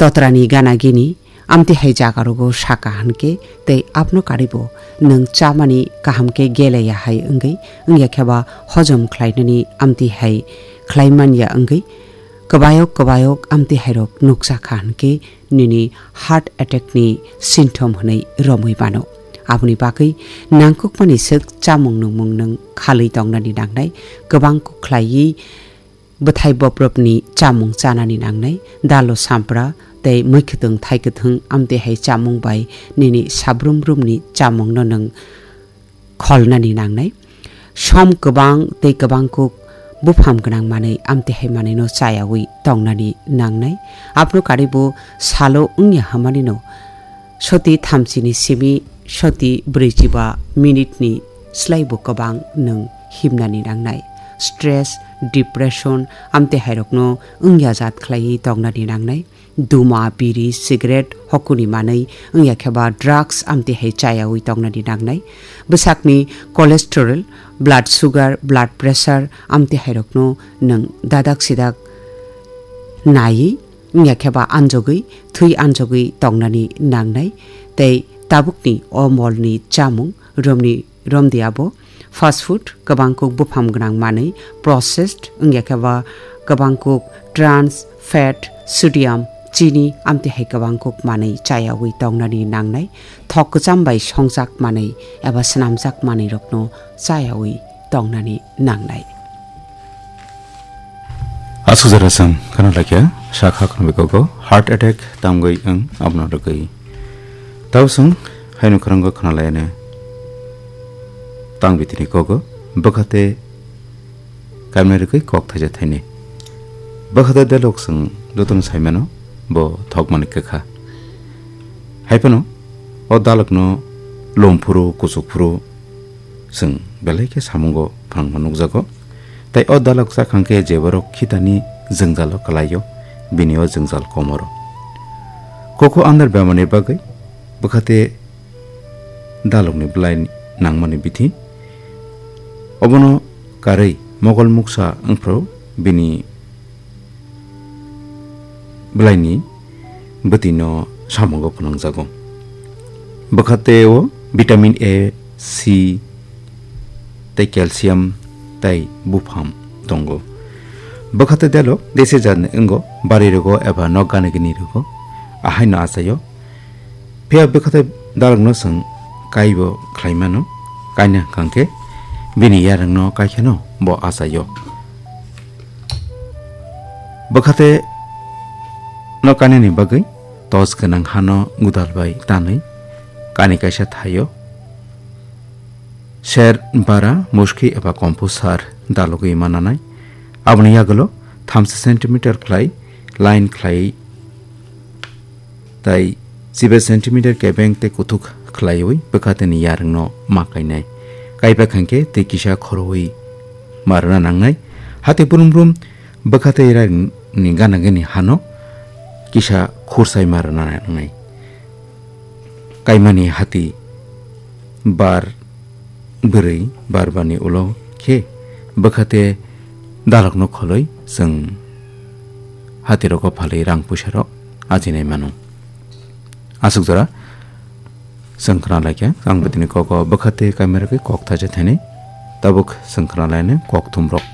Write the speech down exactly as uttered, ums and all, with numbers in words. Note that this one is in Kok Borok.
totrani gana gini amtwi hai jaga rogo saka hwnkhe tei abno karibo nwng chamani kaham khe geleya hai wngwi wngya khe ba hojom khlainani amtwi hai khlai manya wngwi kwbayok kwbayok amtwi hairok nukjakha hwnkhe nini heart attack ni symptom hwnwi romwi mano. Aboni bagwi nangkukmani swk chamung nungmung nwng khalwi tongnani nangnai, kwbang kuk khlaiwi bwthai bobrobni chamung chanani nangnai, dalo sampra tei mwkhwtwng thaikwthwng amtwi hai chamung bai nini sabrum rumni chamungno nwng kholnani nangnai. Som kwbang tei kwbang kuk bupham gwnang manwi amtwi hai manwino chayawi tongnani nangnai. Abno karibo salo wngya hwnmanino soti thamchini simi soti brwichiba minute ni slaibo kwbang nwng himnani nangnai. Stress, depression, amtwi hairokno wngya jat khlaiwi tongnani nangnai. Duma, biri, cigarette, hokuni manwi wngya khe ba drugs amtwi hai chayawi tongnani nangnai. Bwsakni cholesterol, blood sugar, blood pressure amtwi hairokno nwng dadak sidak naiwi wngya khe ba anjogwi, thwi anjogwi tongnani nangnai. Tei tabukni o molni chamung romni romdi abo fast food, kwbang kuk bupham gwnang manwi, processed wngya khe ba kwbang kuk trans fat, sodium, chini amtwi hai kwbang kuk manwi chayawi tongnani nangnai. Thok kwcham bai songjak manwi eba swnamjak manwi rokno chayawi tongnani nangnai. Aswk jora chwng khna laikha, sakha khna bikogo heart attack tamgwi wng abono rwgwi. Tau chwng haino khwrwngo khna laiane tang bitini kogo bwkhate kaimna rwgwi kok thaisa thaini. Bwkhate dalok chwng jotono saimano bo thokmani kwkha. Haiphano o dalokno lomphuru kuchukphuru chwng belai khe samungo phangma nukjago. Tei o dalok chakhang khe je borok khitani jwngjalo kwlaio, bini o jwngjal komoro. Kokho andar bemani bagwi bwkhate dalokni bwlai nangmani bithi. Obono karwi mogol muksa wngphru bini bwlaini bwtwino samungo phwnangjago. Bwkha tei o vitamin A, C tei calcium tei bupham tongo. Bwkha tei dalo dese jatni wngo, bari rogo eba nok gani gini rogo, ahaino achaio. Phiya bwkha tei dalokno chwng kaibo khlai mano, kaina hwnkha khe bini yarwngno kaikheno bo achaio. Bwkhate no kainani bagwi tos gwnang hano gudal bai tanwi kani kaisa thaio ser bara muski eba kompu sar dalogwi mananai. Aboni yagulo thamsa centimeter khlai line khlai tai chiba centimeter kebeng tei kuthuk khlaiwi bwkhateni yarwngno ma kainai. Kaiba khankhe tei kisa khorowi ma rwna nangnai. Hati brum brum bwkhatei yarwngni gana gini hano kisa khursai ma rwna nangnai. Kaimani hati bar bwrwi barbani ulo khe bwkhate dalokno kholoi chwng hatirogo phalwi rang puisarok ajinai mano. Aswk jora chwng khna laikha, ang bwtwini kogo bwkhate kaimera khe kok thaisa thainwi tabuk chwng khna lainai kok thumrok.